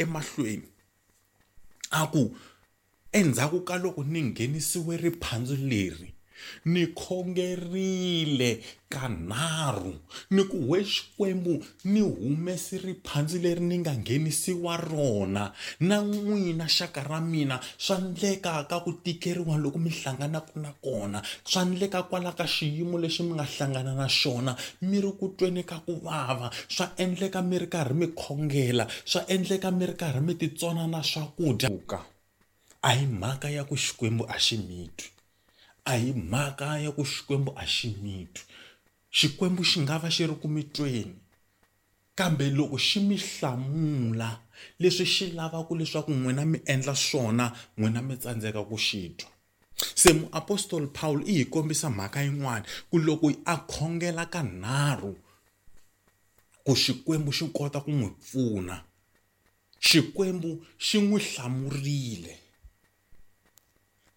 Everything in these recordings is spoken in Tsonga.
emahlweni a ku endzhaku ka loko ni nghenisiwe riphandzu leri ni khongerile kanharhu ni ku we Xikwembu ni humesi riphandzu leri ni nga nghenisiwa rona na n'wina xaka ra mina swa ndleka ka ku tikeriwa loko mi hlanganaka na kona swa ndleka kwala ka xiyimo lexi mi nga hlangana na xona mi ri ku tweni ka ku vava swa endleka mi ri karhi mi khongela swa endleka mi ri karhi mi titsona na swakudya a hi mhaka ya ku Xikwembu a xi mi twi a hi mhaka ya ku Xikwembu a xi mi twi Xikwembu xi nga va xi ri ku mi tweni kambe loko xi mi hlamula leswi xi lavaka leswaku n'wina mi endla swona n'wina mi tsandzeka ku xi twa se muapostoli Paul i hi kombisa mhaka yin'wana ku loko a khongela kanharhu ku Xikwembu xi kota ku n'wi pfuna Xikwembu xi n'wi hlamurile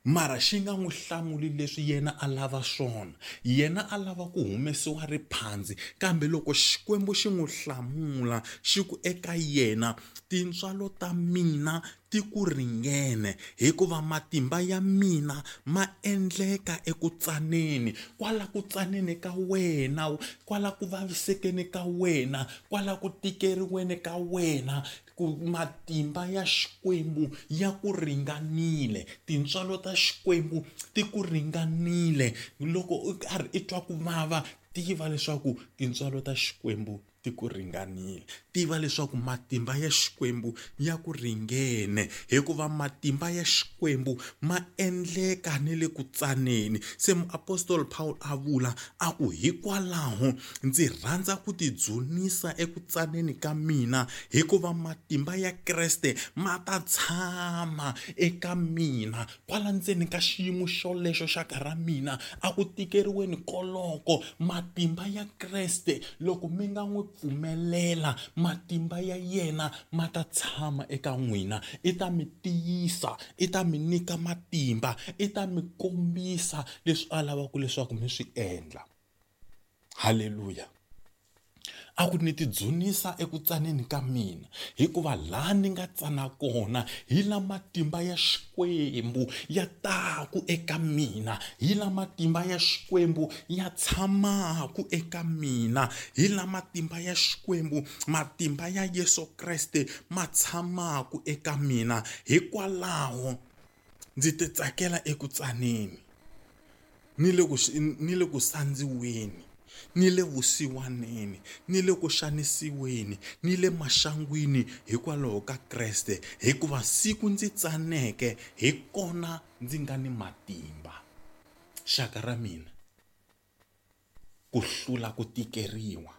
mara xi nga n'wi hlamuli leswi yena a lava swona yena a lava ku humesiwa riphandzi kambe loko Xikwembu xi n'wi hlamula xi ku eka yena tintswalo ta mina ti ku ringene hikuva matimba ya mina ma endleka eku tsaneni kwala ku tsaneni ka wena kwala ku vavisekeni ka wena kwala ku tikeriweni ka wena ku matimba ya Xikwembu ya ku ringanile tintswalo ta Xikwembu ti ku ringanile loko u karhi i twa ku vava tiva leswaku tintswalo ta Xikwembu ti ku ringanile tiva leswaku matimba ya Xikwembu ya ku ringene hikuva matimba ya Xikwembu ma endleka ni le ku tsaneni se muapostoli Paul a vula a ku hikwalaho ndzi rhandza ku tidzunisa eku tsaneni ka mina hikuva matimba ya Kreste ma ta tshama eka mina kwala ndzeni ka xiyimo xolexo xa ka ra mina a ku tikeriweni koloko matimba ya Kreste loko mi nga n'wi pfumelela matimba ya yena ma ta tshama eka n'wina i ta mi tiyisa i ta mi nyika matimba i ta mi kombisa leswi a lavaka leswaku mi swi endla halleluya a ku ni tidzunisa eku tsaneni ka mina hikuva laha ni nga tsana kona hi la matimba ya Xikwembu ya taku eka mina hi la matimba ya Xikwembu ya tshamaku eka mina hi la matimba ya Xikwembu matimba ya Yesu Kreste ma tshamaku eka mina hikwalaho ndzi ti tsakela eku tsaneni ni le ku ni le ku sandziweni ni le vusiwaneni ni le ku xanisiweni ni le maxangwini hikwalaho ka Kreste hikuva siku ndzi tsaneke hi kona ndzi nga ni matimba xaka ra mina ku hlula ku tikeriwa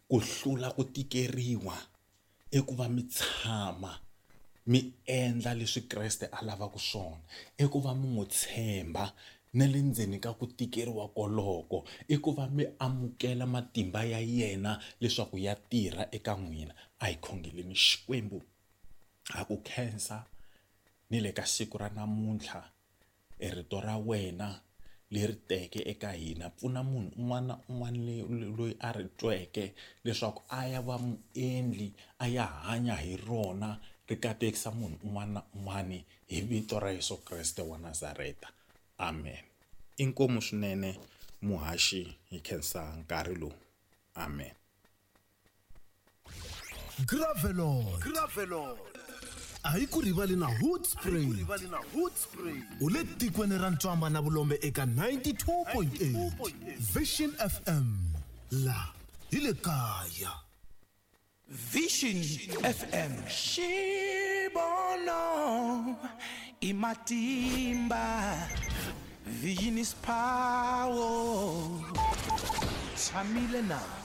ku hlula ku tikeriwa i ku va mi tshama mi endla leswi Kreste a lavaka swona i ku va mi n'wi tshemba na le ndzeni ka ku tikeriwa koloko i ku va mi amukela matimba ya yena leswaku ya tirha eka n'wina a hi khongeleni Xikwembu ha ku khensa ni le ka siku ra namuntlha E rito ra wena leri teke eka hina pfuna munhu un'wana na un'wana loyi a ri tweke leswaku a ya va muendli a ya hanya hi rona ri katekisa munhu un'wana na un'wana hi vito ra Yesu Kreste wa Nazareta amen inkomu swinene muhaxi hi khensa nkarhi lowu amen. Gravelot. Gravelot. A yi ku rivali na Hoedspruit. U le tikweni ra ntswamba na vulombe eka 92.8 Vision FM. La hi le kaya. Vision FM. Xibono i matimba. Vision is power. Tshamile na.